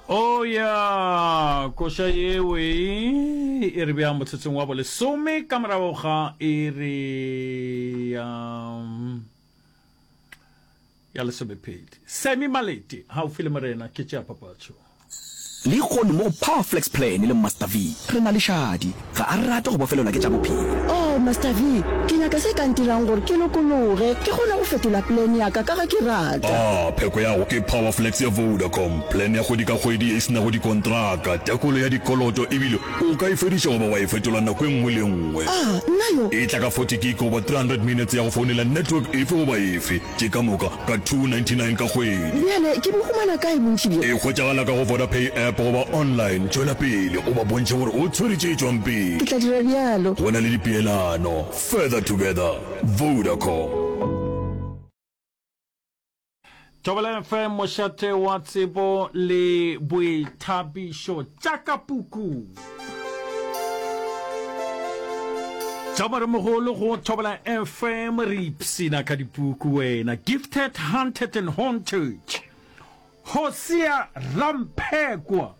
Oh ya, koša yewe e re bea motsotsong wa bolesome ka morago ga iri ya ya lesomepedi. Sammy Malete, haufi le Morena, ke tšea papatšo. Lehono mo go Power Flex Plan le Master V, re na le Shadi. Ga a rate go bofelelwa ke tša bophelo. Oh, Master V, ke nyaka se ka ntirang gore ke lokologe, ke kgone go fetola plan ya ka ka ge ke rata. Ah, pheko ya go ke Power Flex ya Vodacom, plan ya kgwedi ka kgwedi ye e se nago dikontraka, tekolo ya dikoloto ebile o ka e fediša goba wa e fetola nako e nngwe le e nngwe. Ah, nna yo! E tla ka 40 gig goba 300 minutes ya go founela network efe goba efe. Tše ka moka ka 299 ka kgwedi. Bjale ke bo humana kae bontši bjo? E hwetšagala ka go Vodapay app goba online. Tšwela pele o ba bontšhe gore o tshwere tše tšwang pele. Ke tla dira bjalo. Go na le dipeelano. Further together. Vodacom. Thobela FM, mošate wa tsebo le boithabišo. Tša ka puku. Tša moremogolo go Thobela FM, re ipshina ka dipuku wena. Gifted, Hunted and Haunted. Hosea Ramphekwa.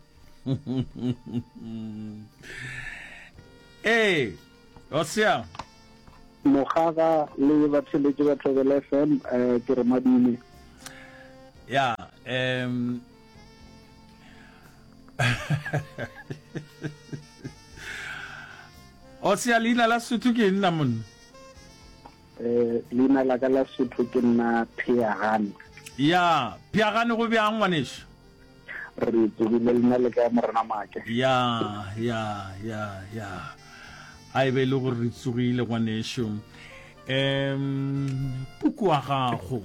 Ee, Hosea. Mogaga le batheletši ba Thobela FM, eh, ke re madume. Ya, um Hosea leina la Sotho ke eng la monna? Eh, leina la ka la Sotho ke nna Pheagane. Ya, Pheagane go bjang ngwaneso? Re tsogile lena le kae Morena Make? Ya, ya, ya, ya. A e be e le gore re tsogile ngwaneso. Um, puku wa gago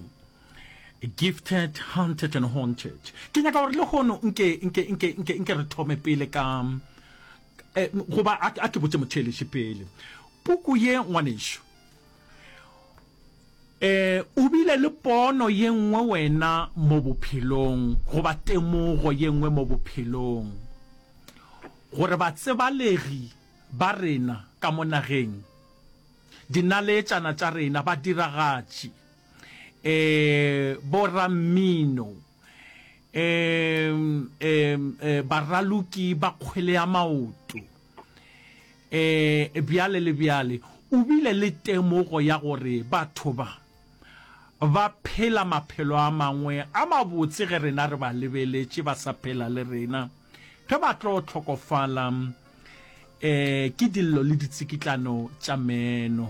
Gifted, Hunted and Haunted. Ke nyaka gore lehono nke nke nke nke nke re thome pele ka eh, goba a ke botše motheeletši pele. Puku ye ngwaneso E, o bile le pono ye nngwe wena mo bophelong, goba temogo ye nngwe mo bophelong, gore batsebalegi ba rena ka mo nageng, dinaleetšana tša rena, badiragatši, e, borammino, e, e, e, baraloki ba kgwele ya maoto, E, bjale le bjale, o bile le temogo ya gore batho ba, ba phela maphelo a mangwe a mabotse ge rena re ba lebeletše ba sa phela le rena. Ge ba tlo hlokofala, e, ke dillo le ditsikitlano tša meno.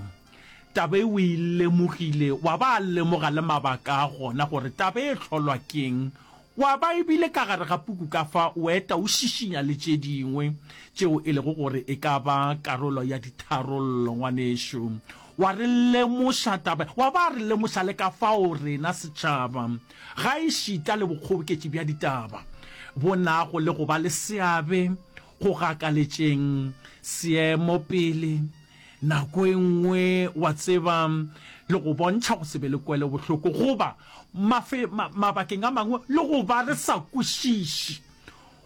Taba e o e lemogile, wa ba a lemoga le mabaka a gona gore taba e hlolwa ke'ng. Wa ba e bile ka gare ga puku ka fa o eta o šišinya le tše dingwe tšeo e lego gore e ka ba karolo ya ditharollo, ngwanešu. Wa re lemoša taba, wa ba re lemoša le ka fao rena setšhaba, gaešita le bokgoboketši bja ditaba, bo nago le go ba le seabe go gakaletšeng seemo pele. Nako e nngwe, wa tseba, le go bontšha go se be le kwelobohloko, goba, mafe, ma, mabakeng a mangwe, le go ba re sa kwešiše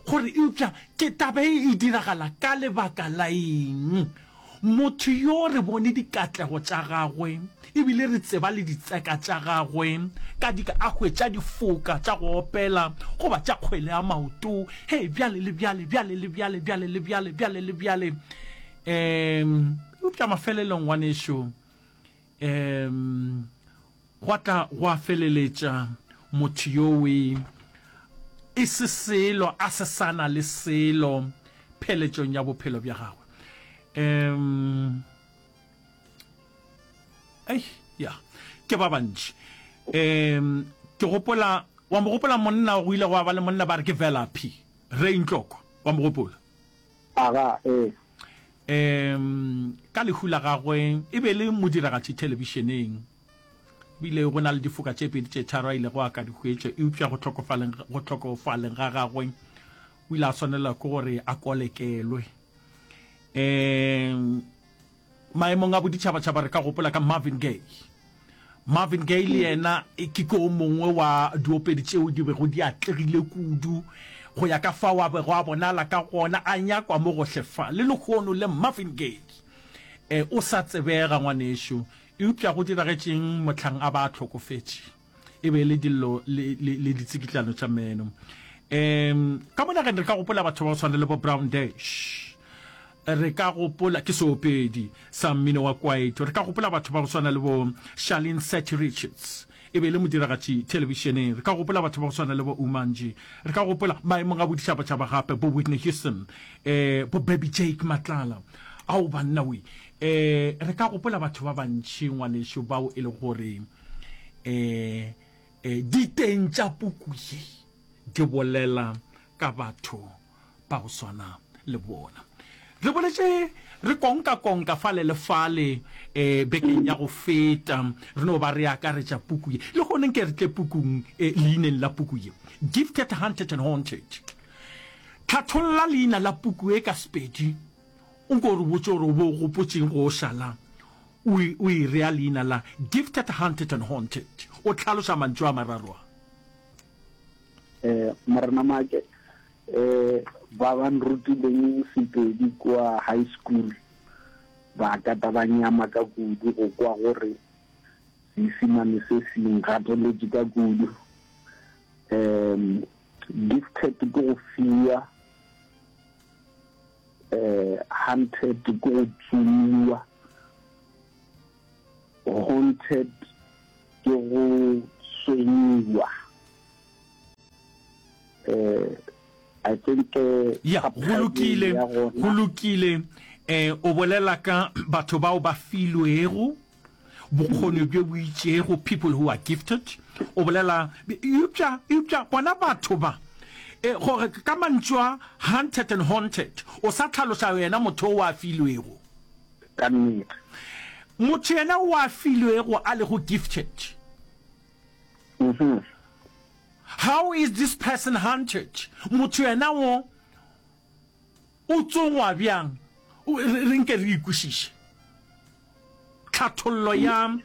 gore eupša ke taba e e diragala ka lebaka la eng. Motho yo re bone dikatlego tša gagwe, ebile re tseba le ditseka tša gagwe, ka di, a hwetša difoka tša go opela goba tša kgwele ya maoto, hei, bjale le bjale, bjale le bjale, bjale le bjale, bjale le bjale. Um eupša mafelelong, ngwanešu, um gwa tla gwa feleletša motho yowe e se selo, a se sa na le selo pheletšong ya bophelo bja gagwe. Um ei, ya, ke ba bantši. Um ke gopola, wa mo gopola monna, go ile gwa ba le monna ba re ke Velaphi, Ray Ntlokwa, wa mo gopola? Aga, ee. Um ka lehu la gagwe, e be e le modiragatši thelebišeneng. Ebile go na le difoka tše pedi tše tharo a ilego a ka di hwetša, eupša go hlokofaleng, go hlokofaleng ga gagwe, o ile a swanelwa ke gore a kolekelwe. Um Maemong a boditšhabatšhaba re ka gopola ka Marvin Gaye. Marvin Gaye le yena ke ke o mongwe wa diopedi tšeo di bego di atlegile kudu go ya ka fao a bego a bonala ka gona, a nyakwa mo gohle fa. Le lehono le Marvin Gaye e, o sa tsebega ngwanešu. Eupša go diragetšeng mohlang a ba a hlokofetše? E be e le dillo le, le, le ditsikitlano tša meno. Um ka mo nageng re ka gopola batho ba go tshwana le bo Brown Dash. Re ka gopola, ke seopedi sa mmino wa kwaito. Re ka gopola batho ba go swana le bo Charlene Seth Richards, e be e le modiragatši thelebišeneng. Re ka gopola batho ba go swana le bo Umanji. Re ka gopola maemong a boditšhabatšhaba gape bo Whitney Houston, eh, bo Baby Jake Matlala. Ao banna we! Eh, re ka gopola batho ba bantši ngwanešu bao e le gore eh, eh, diteng tša puku ye di bolela ka batho ba go swana le bona. Re boletše re konka-konka fale le fale eh, bekeng ya go feta, re no ba re akaretša puku ye. Le gone nke re tle pukung, eh, leineng la puku ye, Gifted, Hunted and Haunted. Tlhatholla leina la puku ye ka Sepedi, o nko re botše gore o be o gopotšeng go o šala o, o e rea leina la Gifted, Hunted and Haunted, o hlaloša mantšu a mararo a. Eh, Morena Make, eh, ba ba nrutileng Sepedi kua high school ba kata ba nyama ka kudu go kwa gore Seisimane se se ngateletše ka kudu. Um, gifted ke go fiwa, eh, hunted ke go tsomiwa, Haunted ke go tshwenyiwa. Eh, I think eh, Ya, go subtitle lokile, ya go gona lokile. Eh, o bolela ka batho bao ba filwego bokgoni bjo bo itšego, people who are gifted. O bolela, eupša, eupša bona batho ba, eh, gore ka mantšu a hunted and haunted, o sa hlaloša yena motho o a filwego. Ka nnete. Motho yena o a filwego a lego gifted. Mhm. How is this person hunted? Motho yena wo o tsongwa bjang? Re nke re ikwešiše. Tlhathollo ya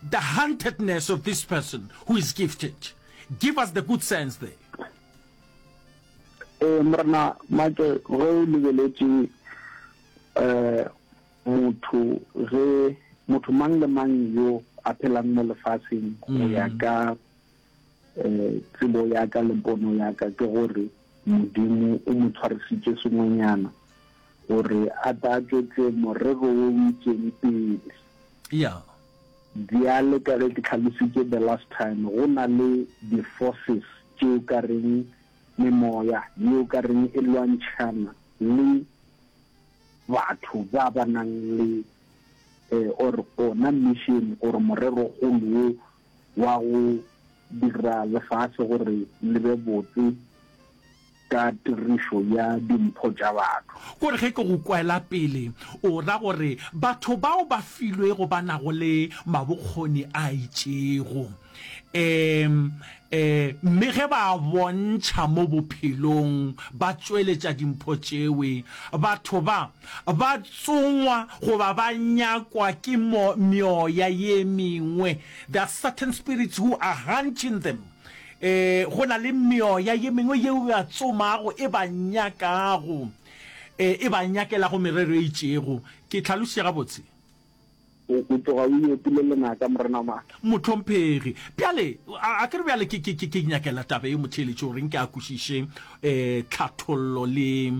the huntedness of this person who is gifted. Give us the good sense there. Ee, Morena Make, ge o lebeletše um motho, ge motho mang le mang yo a phelang mo lefaseng go ya ka um tsebo ya ka le pono ya ka ke gore Modimo o mo tshwarisitše sengwenyana gore a tla tšwetše morero wo o itšeng pele. Yeah. Bjale ka ge ke tlhalositše the last time, go na le di-forces tše o ka reng memoya ye o ka reng e lwantšhana le batho ba ba nang le or ona mission or morerogolo wo wa go dira lefase gore le be botse ka tirišo ya dimpho tša batho. Kore ge ke go kwela pele, o ra gore batho bao ba filwego ba nago le mabokgoni a itšego, um um mme ge ba a bontšha mo bophelong, ba tšweletša dimpho tšewe, batho ba ba tsongwa goba ba nyakwa ke mo meoya ye mengwe, there are certain spirits who are hunting them. E, go na le meoya ye mengwe yeo e ba tsomago, e ba nyakago, e, e ba nyakelago merero e itšego. Ke hlalošitše gabotse? O, o tloga o iopile lenaka, Morena Maaka. Mohlomphegi, bjale, a, a ke re bjale ke, ke, ke, ke nyakela taba ye motheeletši gore nke a kwešiše, e, tlhathollo le,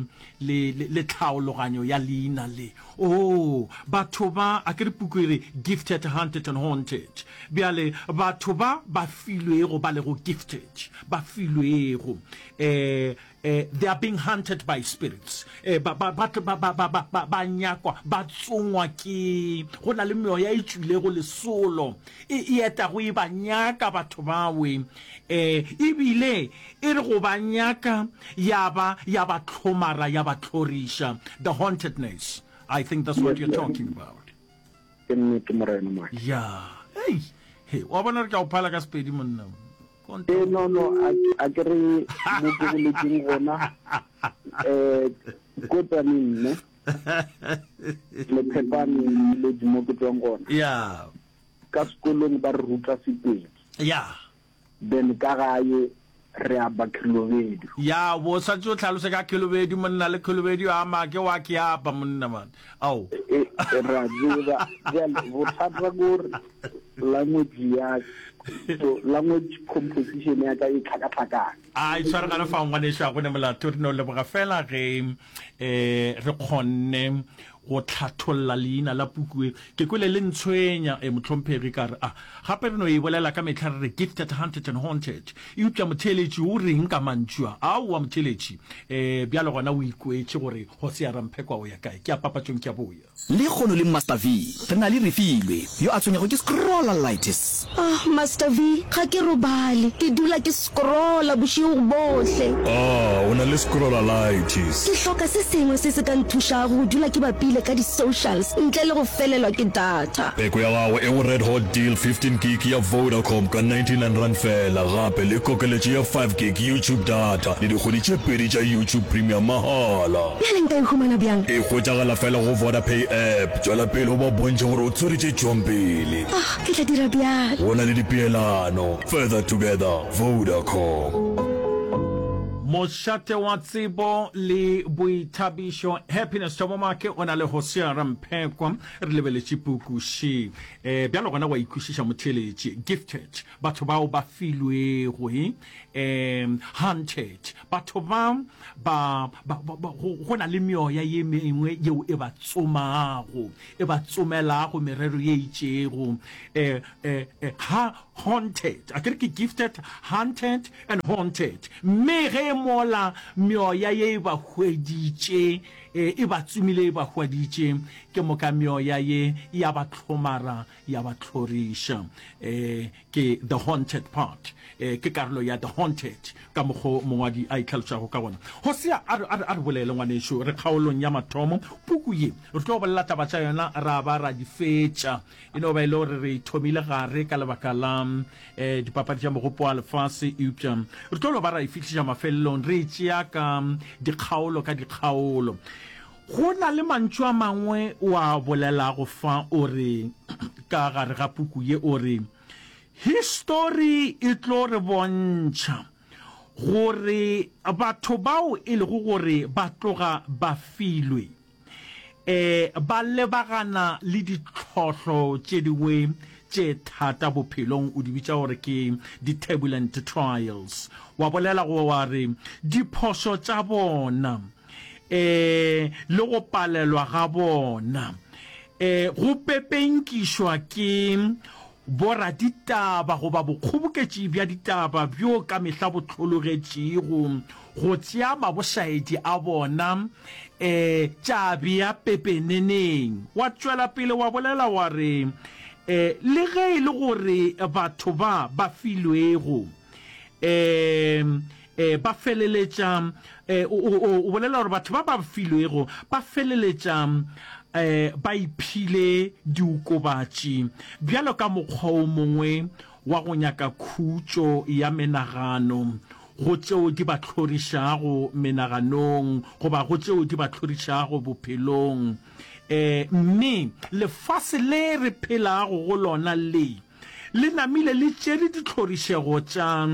le, le, le tlhaologanyo ya leina le. Oo, batho ba, a ke re puku e re, Gifted, Hunted and Haunted. Bjale, batho ba ba filwego, ba lego gifted, ba filwego, eh, eh, they are being hunted by spirits. Eh, ba, ba, ba, ba, ba, ba, ba, ba, ba nyakwa, ba tsongwa ke, go na le meoya e tšwilego lesolo, e, e etago e ba nyaka batho bawe, eh, ebile e re go ba nyaka ya ba, ya ba hlomara, ya ba hloriša. The hauntedness. I think that's what you're talking about. Ke nnete, Morena Maki. Ya. Hei. He, wa bona re tla o phala ka Sepedi monna. Eh, no, no, a, a ke re mo ke boletseng gona, eh, ko Tsaneng, ne? Le Phepane, le mo ke tswang gona. Ya. Ka sekolong ba re ruta Sepedi. Ya. Then ka gae re aba Khelobedu. Ya, bo swanetše o hlalose ka Khelobedu monna, le Khelobedu a make wa ke apa monna man. Ao. E, e, ra tseba. Bjale bothata ke gore language ya. So language composition ya ka e tlhakatlhakane. A e tshwaregane fa ngwanešu a go ne molato re no leboga fela ge um re kgonne go tlhatholla leina la puku e. Ke kwele le ntshwenya e mohlomphegi ka re a gape re no e bolela ka mehla re re gifted, hunted and haunted. Eupša motheeletši o reng ka mantšu a? Aowa motheeletši um bjale gona o ikwetše gore Hosea Ramphekwa o ya kae. Ke ya papatšong ke a boya. Lekgono le Master V, re na le Refilwe, yo a tshwenyago ke scrollalitis. Ah, Master V, ga ke robale. Ke dula ke scrolla bošego bohle. Ah, o na le scrollalitis. Ke hloka se sengwe se se ka nthušago go dula ke bapile ka di-socials ntle le go felelwa ke data. Peko ya gago e go Red Hot Deal 15 gig ya Vodacom ka R99 feela, gape le kokeletšo ya 5 gig YouTube data le dikgwedi tše pedi tša YouTube Premium mahala. Bjale nka e humana bjang? E hwetšagala fela go Vodapay app. Tšwela pele o ba bontšhe gore o tshwere tše tšwang pele. Ah, ke tla dira bjalo. Go na le dipeelano. Further together, Vodacom. Mošate wa tsebo le boithabišo Happiness Thabo Maake o na le Hosea Ramphekwa. Re lebeletše puku še. E, bjalo gona wa ikwešiša motheeletši. Gifted, batho bao ba filwego, e, hunted, Batho ba, ba, ba, ba, ba, go, go na le meoya ye mengwe yeo e ba tsomago, e ba tsomelago merero ye itšego. Eh, eh, eh, ha, haunted, a ke re ke gifted, hunted and haunted. Mme ge mola meoya ye e ba hweditše, eh, e ba tsomile, e ba hwaditše, ke moka meoya ye ya ba hlomara, ya ba hloriša. Eh, Ke The Haunted Part. E, ke karolo ya The Haunted, ka mokgo mongwadi a itlhalošago ka gona. Hosea, a re, a re, a re bolele, ngwanešu. Re kgaolong ya mathomo. Puku ye, re tlo bolela taba tša yona ra ba ra di fetša. E no ba e le gore re e thomile gare ka lebaka la e, dipapadi tša Mogopo wa Lefase, eupša re tlo no ba ra e fihliša mafelelong, re e tšea ka dikgaolo ka dikgaolo. Go na le mantšu a mangwe o a bolelago fa, o re, ka gare ga puku ye, o re, Histori e tlo re bontšha gore batho bao e lego gore ba tloga ba filwe, e, ba lebagana le ditlhohlo tše dingwe tše thata bophelong, o di bitša gore ke di-turbulent trials. Wa bolela go wa re, diphošo tša bona, e le go palelwa ga bona e go pepenkišwa ke boraditaba goba bokgoboketši bja ditaba bjo ka mehla bo hlologetšego go tšea mabošaedi a bona e tša bea pepeneneng. Wa tšwela pele wa bolela wa re, e le ge e le gore batho ba ba filwego e E, ba feleletša, e, o, o, o bolela gore batho ba ba filwego ba feleletša e, ba iphile diokobatši bjalo ka mokgwa o mongwe wa go nyaka khutšo ya menagano go tšeo di ba hlorišago menaganong goba go tšeo di ba hlorišago bophelong. E, mme lefase le re phelago go lona le, le namile le tšere ditlhorišego tša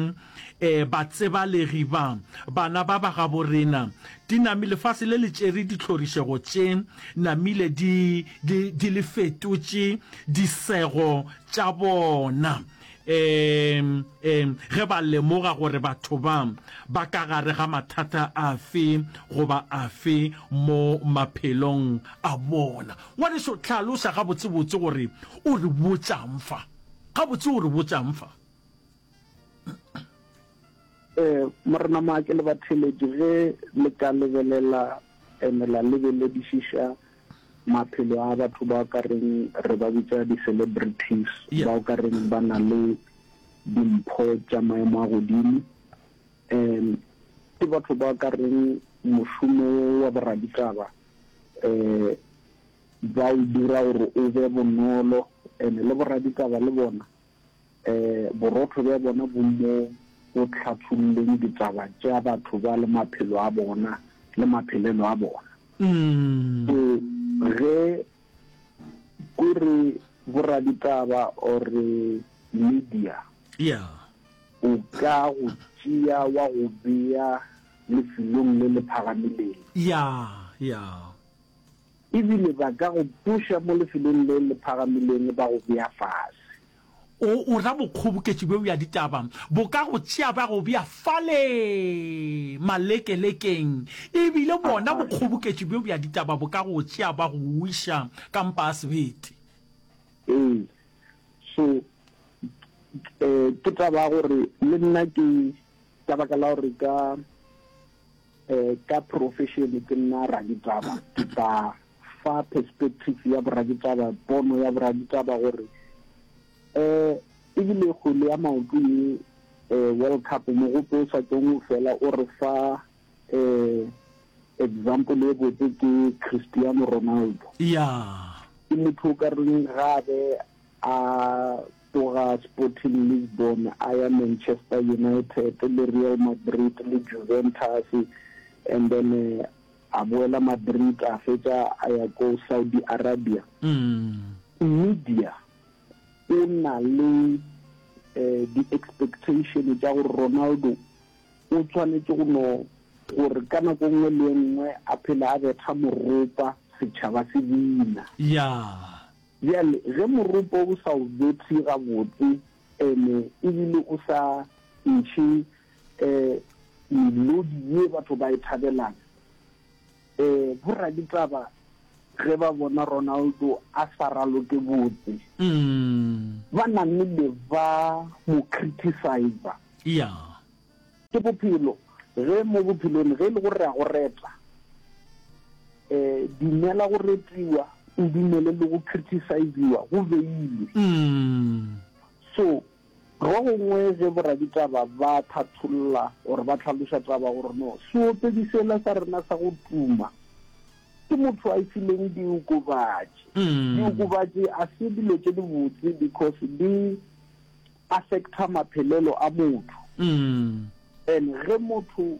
e, batsebalegi ba, bana ba ba gaborena. Di nami, lefase le le tšere ditlhorišego tše, namile di, di, di le fetotše disego tša bona. E, e, ge ba lemoga gore batho ba ba ka gare ga mathata afe goba afe mo maphelong a bona. Ngwaneso, hlalosa gabotsebotse gore o re botšang fa. Gabotse o re botšang fa? Eh, Morena Maake le batheeletši, ge le ka lebelela ene la lebeledišiša maphelo a batho ba ka reng re ba bitša di-celebrities, Yeah. ba o ka reng ba na le dimpho tša maemo a godimo, um ke batho ba ka reng mošomo wa boraditaba um ba o dira gore o be bonolo, ene le boraditaba le bona um borotho bja bona bo mo go hlatholleng ditaba tša batho ba le maphelo a bona le maphelelo a bona. So ge ko re boraditaba or media Yeah. o ka go tšea wa go bea lefelong le le phagamileng. Yeah, yeah. Ebile ba ka go tloša mo lefelong le le phagamileng ba go bea fase. O, o ra bokgoboketši bjo bja ditaba bo ka go tšea bja go bea fale malekelekeng, e bile bona bokgoboketši bjo bja ditaba bo ka go tšea ba go iša ka mpa ya sebete. Ee. So, eh, ke taba ya gore le nna ke, ka baka la gore ka, eh, ka profession ke nna raditaba, ke tla fa perspective ya boraditaba, pono ya boraditaba gore um ebile kgwele ya maoto ye um World Cup mogope o sa tšong o fela o re fa um example e botse ke Cristiano Ronaldo. Yeah. Ke motho o ka reng ga be a tloga Sporting Lisbon a ya Manchester United le Real Madrid le Juventus and then A boela Madrid a fetša a ya ko Saudi Arabia. Media o na le di-expectation tša gore Ronaldo o tshwanetše go no gore ka nako nngwe le e nngwe a phele a betha moropa setšhaba se bina. Bjale ge moropa o sa o bethe gabotse ene ebile o sa ntšhe melodi ye batho ba e thabelang. Boraditaba ge ba bona Ronaldo a sa raloke botse, ba namile ba mo criticiser. Ke bophelo. Ge mo bophelong ge e le gore re a go reta, dumela go retiwa, o dumele le go criticiziwa, go beilwe. So Go gongwe ge boraditaba ba thatholla or ba hlaloša taba gore no seopedi sela sa rena sa go tuma ke motho a fileng diokobatši. Diokobatši a se dilo tše dibotse because di affecta maphelelo a motho. And ge motho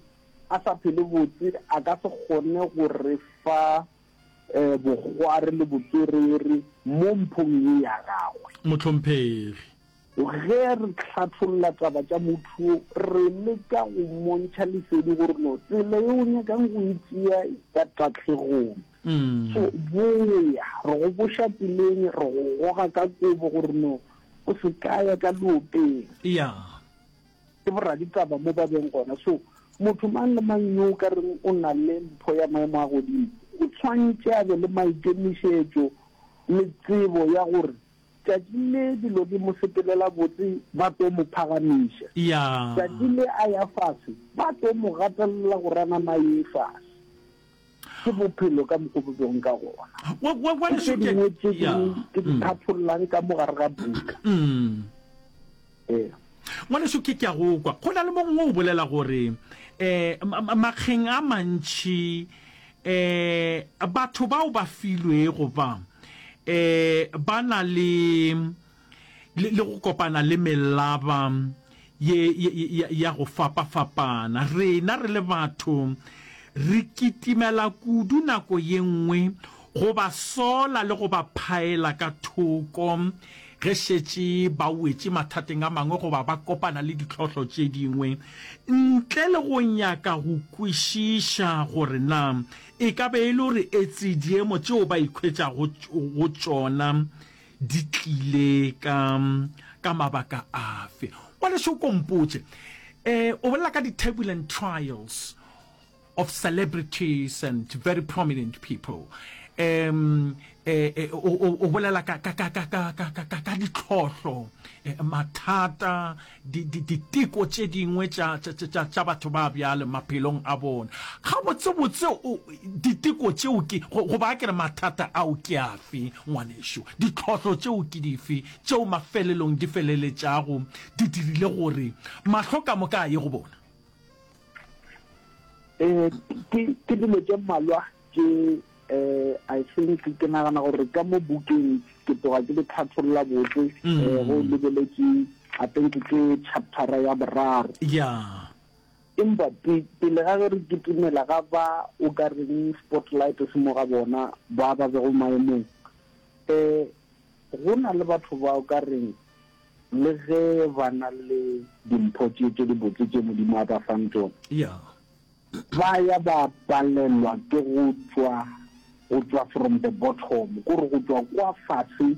a sa phele botse a ka se kgone go re fa bokgwari le botswerere mo mphong ye ya gagwe. Mohlomphegi. Ge re hlatholla taba tša motho yo, re leka go mmontšha lesedi gore no tsela ye o nyakang go e tšea e ya tahlegong. So boya, re go boša tseleng, re go goga ka kobo gore no o se ka ya ka leopeng. Ke boraditaba mo ba beng gona. So motho mang le mang yo o ka reng o na le mpho ya maemo a godimo, o tshwantše a be le maikemišetšo le tsebo ya gore tšatši le dilo di mo sepelela botse ba tlo mo phagamiša, tšatši le a ya fase ba tlo mo gatelela gore a nama a ye fase. Ke bophelo ka mokgo bo bego ka gona. Ke tše dingwe tše ke di thathollang ka mo gare ga buka. Ee. Ngwanešu, ke, ke a go kwa. Go na le mo gongwe o bolela gore, um makgeng a mantši, um batho bao ba filwego ba, um ba na le, le, le go kopana le melaba ye, ye, ye, ya go fapafapana. Rena re le batho re kitimela kudu nako ye nngwe go ba sola le go ba phaela ka thoko ge šetše ba wetše mathateng a mangwe goba ba kopana le ditlhohlo tše dingwe, ntle le go nyaka go kwešiša gore na e ka be e le gore etse diemo tšeo ba ikhwetšago go tšona di tlile ka, ka mabaka afe. Ngwanešu, o ko mpotše, eh, o bolela ka di-turbulent trials of celebrities and very prominent people. Um, eh, eh, o, o, o bolela ka, ka, ka, ka, ka, ka, ka, ka, ka ditlhohlo, eh, mathata, di, di, diteko tše dingwe tša, tša, tša, tša, tša batho ba bjale maphelong a bona. Gabotsebotse o, diteko tšeo ke, go, goba a ke re mathata ao ke afe, ngwanešu? Ditlhohlo tšeo ke dife tšeo mafelelong di feleletšago di dirile gore mahlo ka moka a ye go bona? Eh, ke, ke dilo tše mmalwa tše eh, I think ke nagana gore ka mo bukeng ke tloga ke di tlhatholla botse eh, go lebeletše I think ke chaptera ya boraro. Yeah. Empa pe, pele ga ge re kitimela ga ba o ka reng spotlight se mo ga bona ba ba bego maemong eh, go na le batho ba o ka reng le ge ba na le dimpho tše tše dibotse tše Modimo a ba fang tšona, Yeah. Ba ya ba palelwa ke go tšwa, go tšwa from the bottom, kore go tšwa kwa fase.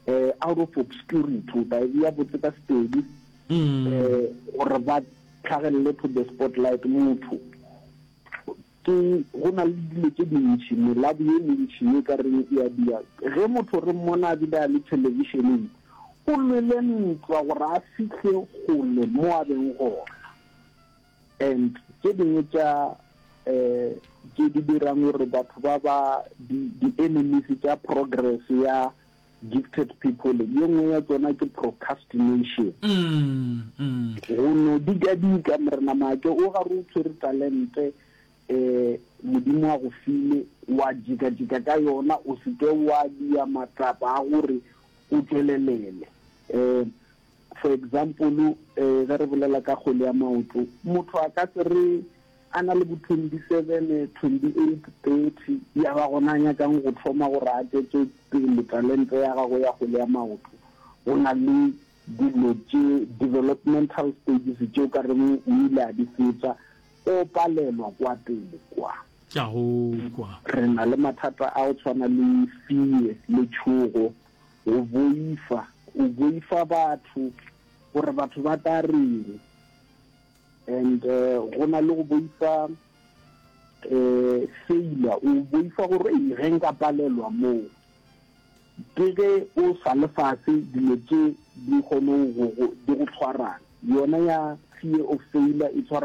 Eh, out of obscurity, o tla e bea botse ka Sepedi, eh, gore ba tlhagelele to the spotlight. Motho ke, go na le dilo tše dintši, melabu ye mentši ye ka reng e a dia. Ge motho re mmona a bile a le thelebišeneng, o lwele ntwa gore a fihle kgole mo a beng gona. And tše dingwe tša um tše di dirang gore batho ba ba di di-enemies tša progress ya gifted people, ye nngwe ya tšona ke procrastination. Go no dikadika, Morena Maake, o gare o tshwere talente um Modimo a go file, wa jikajika ka yona, o se ke wa dia matsapa a gore o tšwelelele. Um For example, ge re bolela ka kgwele ya maoto, motho a ka se re a na le bo 27, 28, 30, ya ba gona a nyakang go thoma gore a tšwetše pele talente ya gagwe ya kgwele ya maoto. Go na le dilo tše, developmental stages, tše o ka reng o ile a di fetša, o palelwa kwa pele kwa. Ke a go kwa. Re na le mathata a go tshwana le fear, letšhogo, Go boifa, o boifa batho, gore batho ba tla reng. And go na le go boifa failure, o boifa gore ei ge nka palelwa moo. Ke ge o sa le fase dilo tše di kgone go di go tshwarang. Yona ya fear of failure e tshwara.